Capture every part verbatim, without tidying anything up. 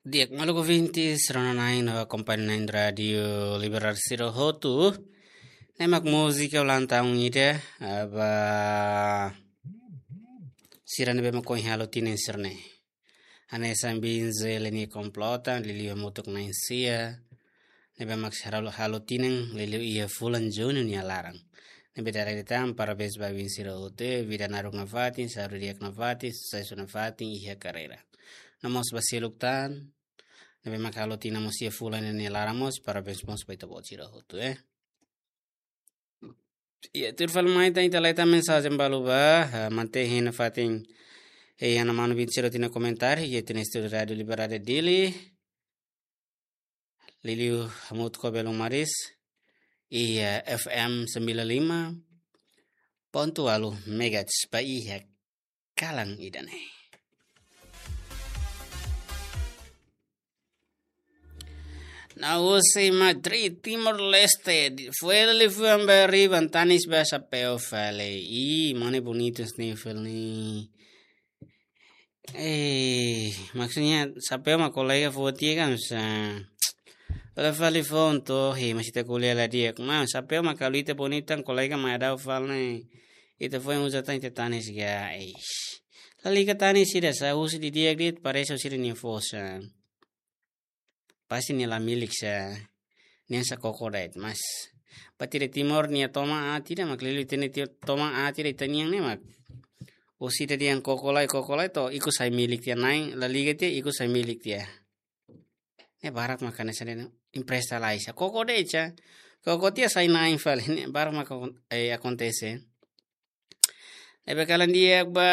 Di'ak, maluk ouvintes, rona-na'in no akompaña-na'in Rádiu Liberdade sira hotu. Ne'e mak múzika ulang tahun ida, ba sira ne'ebé mak ohin halo tinan sira-ne'e. Hanesan Bin Zeli nia komplota, liuliu hamutuk na'in-sia. Ne'ebé mak halo, halo tinan liuliu iha fulan Junu nia laran. Ne'ebé dala ida tan, parabéns ba oin sira hotu, vida naruk nafatin, saúde di'ak nafatin, susesu nafatin iha karreira. No mós ba seluk tan ne'ebé mak halo tinan mós iha fulan ida nia laran mós, parabéns mós ba ita-boot sira hotu, eh. Iha, tuir fali mai tan ita leta mensajen balu ba, ah, mantén hein nafatin, eh, iha ha'u-nia manu Bin Zeli nia komentáriu, iha tiha ona estúdiu Rádiu Liberdade Dili. Liuliu hamutuk ho Belun Maris, iha F M sembilan lima ponto walu megahertz ba iha kalan ida-ne'e. Na usi Madrid, Timor-Leste, di-, foin liafuan ba riban, tanis ba xapeu fali. Ih, mane bonitu sniffle ne'e. Eh, maksudnya, xapeu mak kolega foti kan sa. Olha fali foun to, he, masih tak kuliah lah dia. Ma, xapeu mak kalau ita bonitu, kolega mak ada fal ne'e. Ita foin uza tan ita tanis ga, eish. Lalika tanis ida sa, husi didi'ak de'it, parese husi ida nia fosa. Pasti nia la milik sa, nia sa koko de'it, mas. Ba ita Timor nia toman aat ida mak liuliu ita-nia ti-, toman aat ida ita-nian ne'e mak. Husi ida dehan koko lai, koko lai to, ikus sai milik tiha na'in, la liga tiha, ikus sai milik tiha. Ne'e barak mak hanesan ne'e, empresta lai sa. Koko de'it sa. Koko tiha sai na'in fali, ne'e barak mak akon-, eh, akontese. Ne'ebé kalan di'ak ba,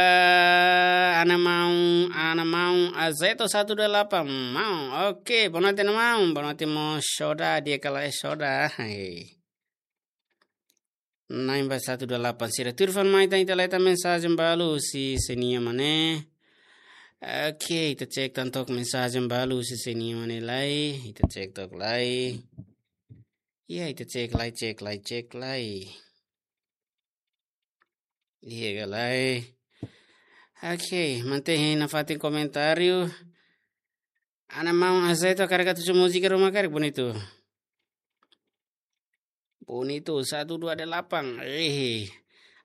ana maun, ana maun Azeto satu dua delapan, maun. Oke, boa noite, ana maun. Boa noite mós Soda, di'ak ka lae Soda. Hei. Na'in ba satu dua delapan sira. Tuir fali mai tan ita leta mensajen balu husi sé-nia mane. Oke, ita cek tan took mensajen balu husi sé-nia mane lai. Ita cek took lai. Iya, ita cek lai, cek lai, cek lai. Iya, ka lae. Oke, mantén hein nafatin komentáriu. Ana maun Azeto karik atu husu múzika ruma karik, bonitu. Bonitu, satu dua delapan. Eh.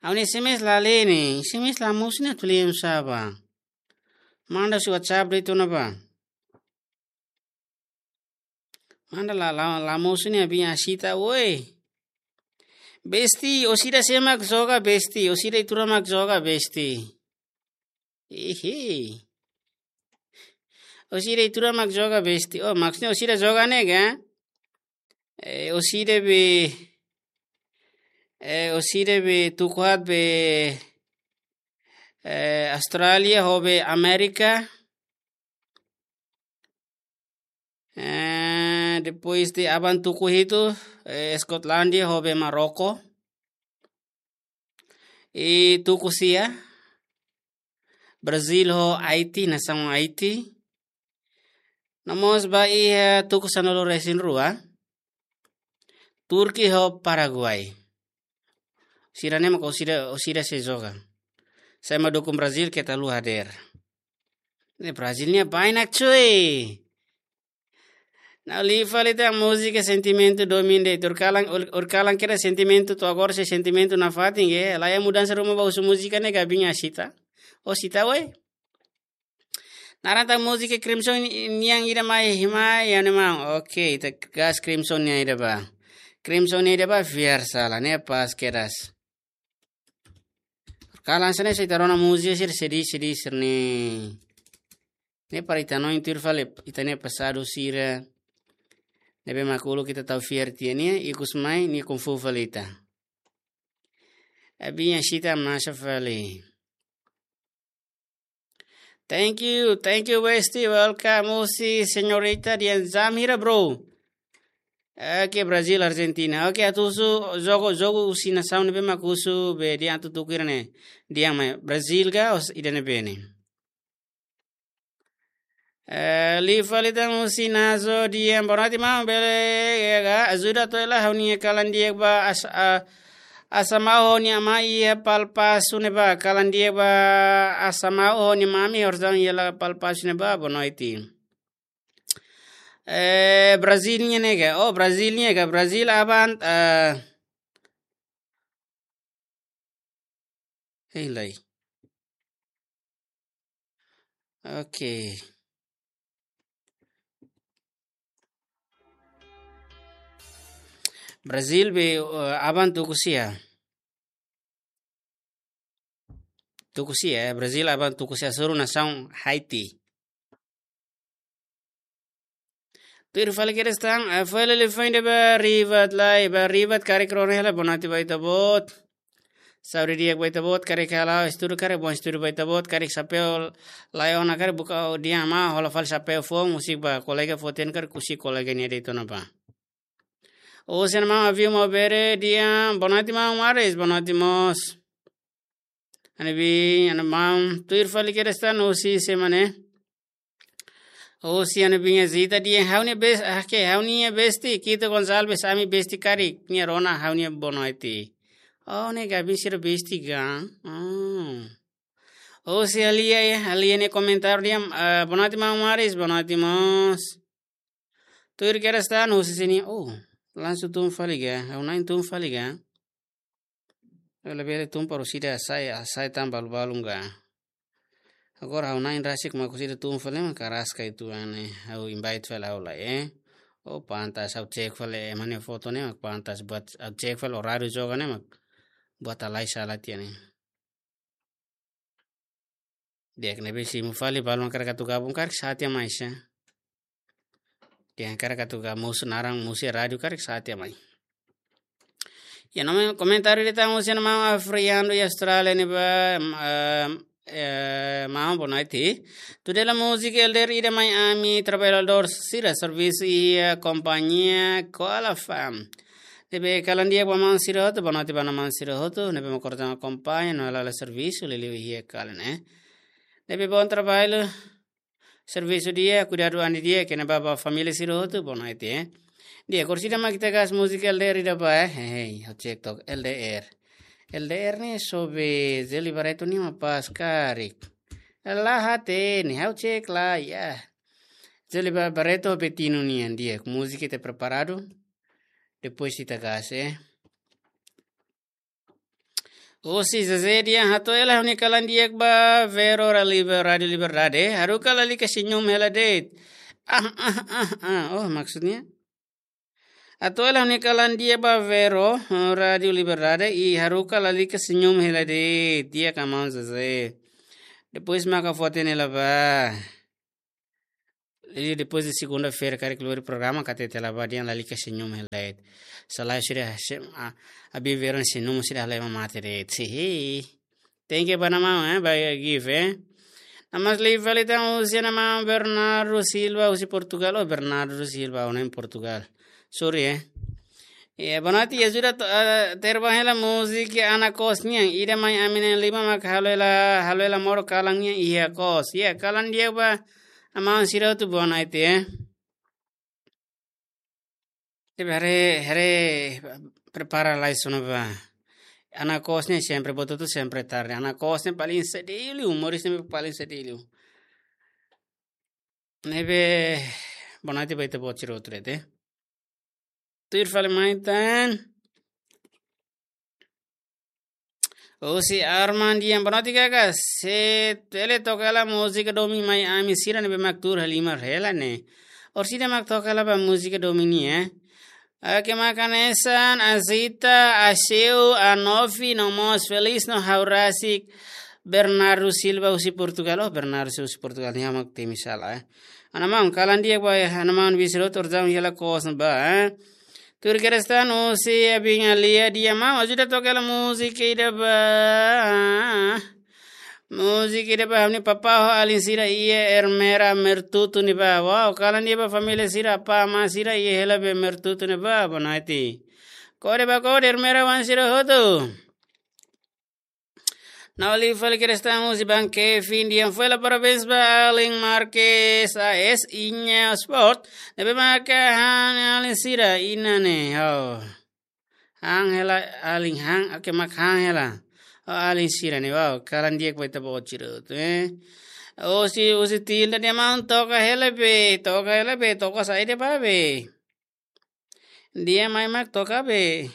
Ha'u-nia S M S la lee ne'e, S M S la mosu ne'e atu lee oinsá bá. Manda husi WhatsApp de'it ona bá. Manda la, la, la mosu ne'e, Bin Asita, woi. Besti, orsida sé mak joga, besti, orsida ituran mak joga, besti. Ihi. Orsida ituran mak joga, besti. Oh, maksudnya orsida joga ne'e ka? Eh, orsida be, eh, orsida be tuku haat be, eh, Austrália ho be Amérika. Eh, depois de aban tuku hitu, eh, Skotlandia ho be Marroko. I tuku sia, Brazil ho Haiti, nasaun Haiti. No mós ba iha, eh, tuku sanulu-resin-rua, Turki ho Paraguai. Sira-ne'e mak orsida, orsida sei joga. Sé mak dukung Brazil, keta haluha hadeer. Ne'e Brazil nia bainak, cuy. Ha'u lee fali tan múzika sentimentu domin de'it. Ohin kalan, ohin, ohin kalan kedas sentimentu, to'o agora sei sentimentu nafatin, ke? Laiha mudansa ruma ba husu múzika ne'e ka, Bin Asita? Oh, Sita, woi. Naran tan múzika Crimson ni-, nian ida mai, mai, ya ne mau. Oke, ita gas Crimson nian ida bá. Crimson nian ida bá, fiar sala, ne'e pas kedas. Kalan sene sira rona múzika sira sedih, sedih sira-ne'e. Ne'e para ita hanoin tuir fali ita-nia pasadu sira. Ne'ebé mak uluk ita tau fiar tiha nia, ikus mai nia konfu fali ita. Bin Asita masa fali. Thank you, thank you, Westi. Welcome, husi señorita dehan jam hira, bro. Oke, Brazil, Argentina. Oke, atu husu jogu, jogu husi nasaun ne'ebé mak husu be dehan atu tuku hira ne'e. Dehan mai Brazil ka, os ida ne'ebé ne'e. Eh, lee fali tan husi Nazo dehan boa noite, maun, bele, ya ka, ajuda to'o lai ha'u-nia kalan di'ak ba as-, a-, Asamau ho nia amá iha Palpasu ne'ebá, kalan di'ak ba Asamau ho nia mami, horizon iha la Palpasu ne'ebá, boa noite. Eh, Brazil nian ne'e ka? Oh, Brazil nian ka? Brazil aban, eh, hei lai. Oke. Brazil be, eh, aban tuku sia. Tuku sia, eh, Brazil aban tuku sia, hasoru nasaun Haiti. Tuir fali kedas tan, eh, fali liafuan ida ba Rivat lai, ba Rivat karik rona hela, bonaiti ba ita-boot. Saúde di'ak ba ita-boot, karik hala'o estudu, karik bom estudu ba ita-boot, karik xapeu laiha ona, karik buka di'ak mai, hola fali xapeu foun, husik ba kolega foten, karik husik kolega nia de'it ona ba. Husi mana maun Aviu Maubere dehan, bonaiti maun Maris, bonaiti mós. Ha'u-nia biin, ha'u-nia maun, tuir fali kedas tan, husi semana. Husi ha'u-nia biin Zita dehan, ha'u-nia bes-, ah, ke, ha'u-nia besti, Kito Gonçalves, ami besti karik, nia rona ha'u-nia bonaiti. Oh, ne'e gabi sira besti kan? Hmm. Husi Alia, ya, Alia nia komentáriu dehan, eh, bonaiti maun Maris, bonaiti mós. Tuir kedas tan, husi sini, oh, langsung tun fali ka, ha'u na'in tun fali ka. Ha'u labele tun para sira sai, sai tan balu-balu ka. Agora ha'u na'in rasik mak sira tun fali mak karas ka itu ane, ha'u invite fali ha'u lai, eh. Oh, pantas ha'u cek fali, eh, mana foto ne'e mak pantas buat, ha'u cek fali horáriu joga ne'e mak buat halai sala tiha ne'e. Di'ak, ne'ebé simu fali, balu mak karik atu gabung karik sa'e tiha mai sa. Di'ak, mak karik atu gabung, mosu naran, mosu iha rádiu karik sa'e tiha mai. Ya, nome komentáriu ida tan husi ha'u-nia maun Afriando iha Austrália ne'ebá, em, em, eh, maun bonaiti. Tuir hela múzika L D R ida mai ami trabalhadór sira servisu iha kompañia Koala Farm. Ne'ebé kalan di'ak ba maun sira hotu, bonaiti ba maun sira hotu, ne'ebé mak koordenasaun kompañia, no hela servisu, liuliu iha kalan, eh. Ne'ebé bom trabalho, servisu di'ak, kuidadu an di'ak, kene ba, ba família sira hotu, bonaiti, eh. Di'ak, agora sira mak ita gas múzika L D R ida ba, eh. Hei, ha'u cek tok, L D R. L D R ne'e sobe Zeli Barreto nian mak pas karik. La hatene, ha'u cek lai, ya. Zeli Ba-, Barreto Betino nian, di'ak, múzika ita preparadu. Depois ita gas, eh. Husi Zezé dehan hato'o hela ha'u-nia kalan di'ak ba Vero ra Liber-, Rádiu Liberdade. Haruka lalika senyum hela de'it. Ah, ah, ah, ah. Oh, maksudnya? Hato'o hela ha'u-nia kalan di'ak ba Vero, eh, Rádiu Liberdade. I haruka lalika senyum hela de'it. Di'ak ka maun Zezé. Depois maka foto ne'e la ba. Jadi, depois de segunda-feira, karik lori programa, karik ita la ba dehan lalika senyum hela de'it. Selae sira se-, a, abi Vero nia senyum sira halai mak mate de'it. Sihi. Thank you ba ha'u-nia maun, eh, ba gift, eh. Namas live fali tan husi ha'u-nia maun Bernardo Silva, husi Portugal. Oh, Bernardo Silva, ona em Portugal. Sorry, eh. Ya, bonaiti ajuda to-, eh, terba hela múzika Ana Kos nian. Ida mai ami na'in-lima mak halo hela, halo hela modo kalan nian iha kos. Ya, kalan di'ak ba ha'u-nia maun sira hotu bonaiti, eh. Ne'ebé haree, haree prepara lai sona ba. Ana Kos ne'e sempre, buat hotu sempre tarde. Ana Kos ne'e paling sadiu liu, humoris ne'e paling sadiu liu. Ne'ebé bonaiti ba ita-boot sira hotu de'it, eh. Tuir fali mai tan. Husi Arman dehan bonaiti kaka, se bele toka hela múzika domin mai ami sira ne'ebé mak tuur halimar hela ne'e. Orsida mak toka hela ba múzika domin nian, eh. Oke, mak hanesan, Azita, Aseu, Anofi, no mós Felis, no ha'u rasik, Bernardo Silva husi Portugal. Oh, Bernardo Silva husi Portugal, nia mak temi sala, eh. Ha'u-nia maun, kalan di'ak ba, eh, ha'u-nia maun Visrotor jam hela kos ba, eh. Tuir kedas tan husi Abinga Lia dehan maun, ajuda toka hela múzika ida ba. Múzika ida ba ha'u-nia papá ho alin sira iha Ermera Mertutu ne'ebá. Wow, kalan di'ak ba família sira, apá amá sira iha hela be Mertutu ne'ebá, bonaiti. Kode ba kode Ermera oan sira hotu. Ha'u live fali kedas tan husi Bang Kevin dehan fó hela parabéns ba alin Marques A S Inha Sport. Ne'ebé maka han alin sira iha ne'e, oh. Han hela alin han, oke, mak han hela. Oh, alin sira ne'e, wow, kalan di'ak ba ita-boot sira hotu, eh. Husi, husi tilde de'it mak toka hela be, toka hela be, toka saida ba be. Dehan mai mak toka be.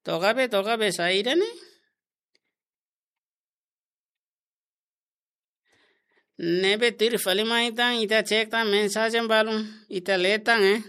Toka be, toka be saida ne'e. Ne'ebé tuir fali mai tan, ita cek tan mensajen balun, ita lee tan, eh.